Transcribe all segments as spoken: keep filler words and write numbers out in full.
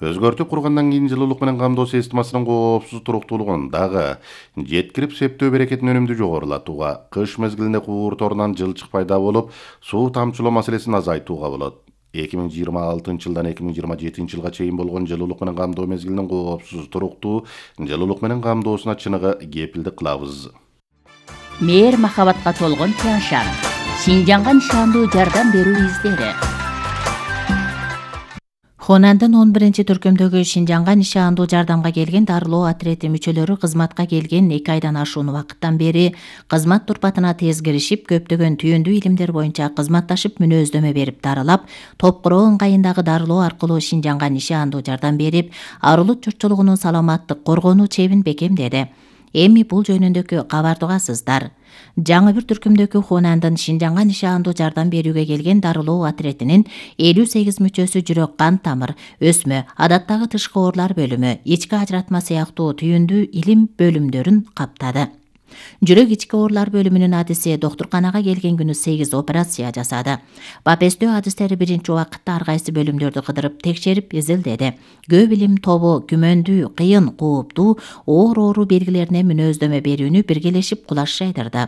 Өзгөртүп кургандан кийин жылуулук менен камдоо системасынын коопсуз туруктуулугун дагы жеткирип септөө берекетин өнүмдүү жогорулатууга, кыш мезгилинде куурторунан жылчык пайда болуп, суу тамчылоо маселесин азайтууга болот. эки миң жыйырма алтынчы жылдан эки миң жыйырма жетинчи жылга чейин болгон жылуулук менен камдоо мезгилинин коопсуз туруктуу жылуулук менен камдоосуна чыныгы кепилдик кылабыз. Мээр махабатка толгон Тяншан. Шинжанга нишандуу жардам берүү издери. Хонандын он биринчи түркүмдөгү Шинжанга нишандуу жардамга келген дарылоо отрети мүчөлөрү кызматка келген эки айдан ашуун убакыттан бери кызмат турпатына тез киришип, көптөгөн түйүндүү илимдер боюнча кызматташып мүнөздөмө берип дарылап, Топкуроо ыңгайындагы дарылоо аркылуу Шинжанга нишандуу жардам берип, арулут журтчулугунун саламаттык коргонуу чебин бекемдеди. Эми бул жөнүндөгү кабарды угасыздар. Жаңы бир түркүмдөгү Хонандын Шинжанга нишандуу жардам берүүгө келген дарылоо отретинин элүү сегиз мүчөсү жүрөк кан тамыр, өсмө, адаттагы тышкы оорулар бөлүмү, ички ажыратма сыяктуу түйүндүү илим бөлүмдөрүн каптады. Жүрөк ички оорулар бөлүмүнүн адиси доктурканага келген күнү сегиз операция жасады. Бапестөө адистери биринчи убакытта ар кайсы бөлүмдөрдү кыдырып текшерип изилдеди. Көп илим тобу күмөндүү, кыйын, кооптуу оор оору белгилерине мүнөздөмө берүүнү биргелешип кулаш жайдырды.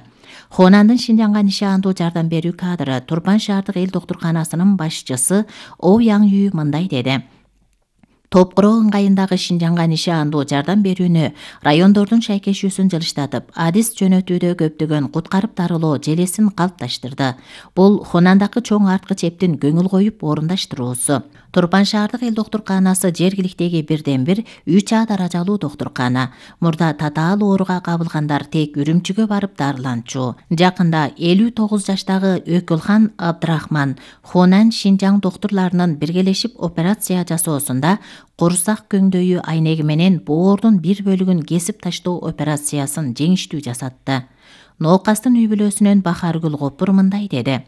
Хонандын Шинжанга нишандуу жардам берүү кадры Турпан шаардык эл доктурканасынын башчысы О Яң Ю мындай деди. Топкуроо ыңгайындагы Шинжанга нишандуу жардам берүүнү райондордун шайкешүүсүн жылыштатып, адис жөнөтүүдө көптөгөн куткарып дарылоо желесин калыпташтырды. Бул Хонандагы чоң арткы чептин көңүл коюп орундаштыруусу. Турпан шаардык эл доктурканасы жергиликтеги бирден бир үч А даражалуу доктуркана. Мурда татаал ооруга кабылгандар тек Үрүмчүгө барып дарыланчу. Жакында элүү тогуз жаштагы Өкүлхан Абдрахман Хонан Шинжаң доктурларынын биргелешип операция жасоосунда курсак көңдөйү айнеги менен боордун бир бөлүгүн кесип таштоо операциясын жеңиштүү жасатты. Ноокастын үй бүлөсүнөн Бахаргүл Копур мындай деди.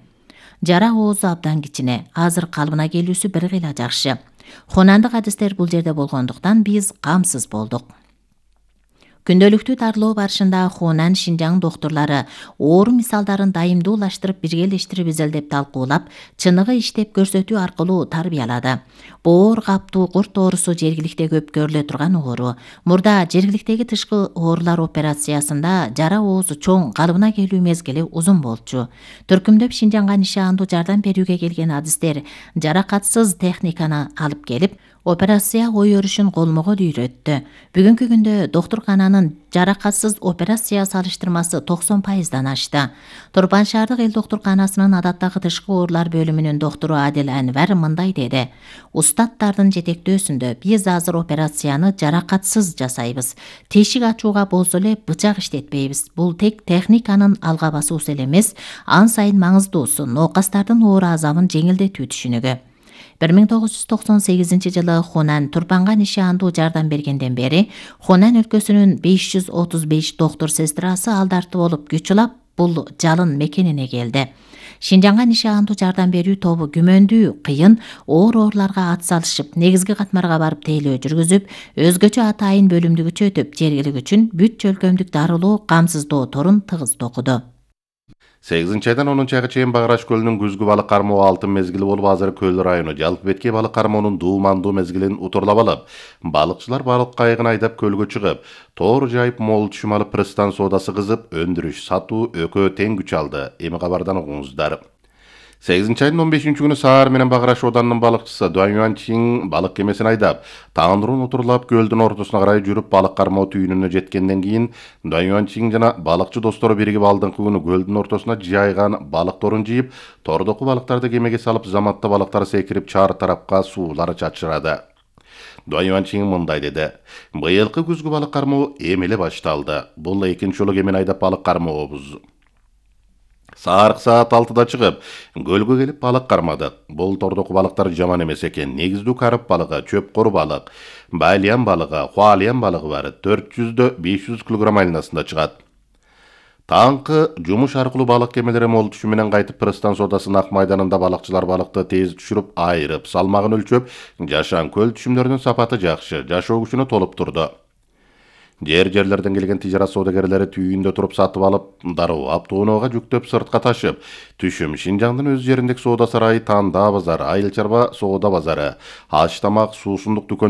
Жара оозу абдан кичине, азыр калыбына келүүсү бир кыйла жакшы. Хонандык адистер бул жерде болгондуктан биз камсыз болдук. Күндөлүктүү дарылоо барышында Хонан Шинжаң доктурлары оору мисалдарын дайымдуулаштырып, биргелештирип изилдеп талкуулап, чыныгы иштеп көрсөтүү аркылуу тарбиялады. Боор каптуу курт оорусу жергиликте көп көрүлө турган оору. Мурда жергиликтеги тышкы оорулар операциясында жара оозу чоң, калыбына келүү мезгили узун болчу. Түркүмдөп Шинжанга нишандуу жардам берүүгө келген адистер жаракатсыз техниканы алып келип, операция ой өрүшүн колмого үйрөттү. Бүгүнкү күндө доктуркананын жаракатсыз операция салыштырмасы токсон пайыздан ашты. Турпан шаардык эл доктурканасынын адаттагы тышкы оорулар бөлүмүнүн доктору Адил Анвар мындай деди. Устаттардын жетектөөсүндө биз азыр операцияны жаракатсыз жасайбыз. Тешик ачууга болсо эле бычак иштетпейбиз. Бул тек техниканын алга басуусу эле эмес, ан сайын маңыздуусу ноокастардын оору азабын жеңилдетүү түшүнүгү. бир миң тогуз жүз токсон сегизинчи жылы Хонан Турпанга нишандуу жардам бергенден бери Хонан өлкөсүнүн беш жүз отуз беш доктур сестрасы алдарты болуп күч улап бул жалын мекенине келди. Шинжанга нишандуу жардам берүү тобу күмөндүү, кыйын оор ооруларга ат салышып, негизги катмарга барып тейлөө жүргүзүп, өзгөчө атайын бөлүмдү күчөтүп, жергилик үчүн бүт чөлкөмдүк дарылоо, камсыздоо торун тыгыз токуду. сегизинчи айдан онунчу айга чейин Багыраш көлүнүн күзгү балык кармоо алтын мезгили болуп, азыр Көл району Жалпы Беткей балык кармоонун дуумандуу мезгилин утурлап алып, балыкчылар балык кайыгын айдап көлгө чыгып, тоор жайып, мол түшүм алып, пристан соодасы кызып, өндүрүш, сатуу экөө тең күч алды. Эми кабардан угуңуздар. сегизинчи айдын он бешинчи күнү Саар менен Багыраш оданынын балыкчысы Дуан Юанчин балык кемесин айдап, тандырын утурлап көлдүн ортосуна карай жүрүп балык кармоо түйүнүнө жеткенден кийин Дуан Юанчин жана балыкчы достору биригип алдыңкы күнү көлдүн ортосуна жайган балык торун жыйып, тордоку балыктарды кемеге салып, заматта балыктар секирип чаар тарапка суулар чачырады. Дуан Юанчин мындай деди. Быйылкы күзгү балык кармоо эми эле башталды. Бул экинчи жолу кемени айдап балык кармообуз. Саарык саат алтыда чыгып, көлгө келип балык кармадык. Бул тордоку балыктар жаман эмес экен. Негиздүү карып балыгы, чөп-кору балык, байлиан балыгы, хуалиан балыгы бар. төрт жүздөн беш жүз килограмм айнасында чыгат. Таңкы жумуш аркылуу балык кемелери мол түшүм менен кайтып, пристан соодасынын ак майданында балыкчылар балыкты тез түшүрүп, айырып, салмагын өлчөп, жашан көл түшүмдөрүнүн сапаты жакшы, жашоо күчүнө толуп турду. Жер-жерлерден келген тижарат соодагерлери түйүндө туруп сатып алып, дарылап, тооноого жүктөп, сыртка ташып, түшүм Шинжаңдын өз жериндеги соода сарайы, Танда базары, Айыл чарба соода базары, аш тамак, суусундук дүкөндөрү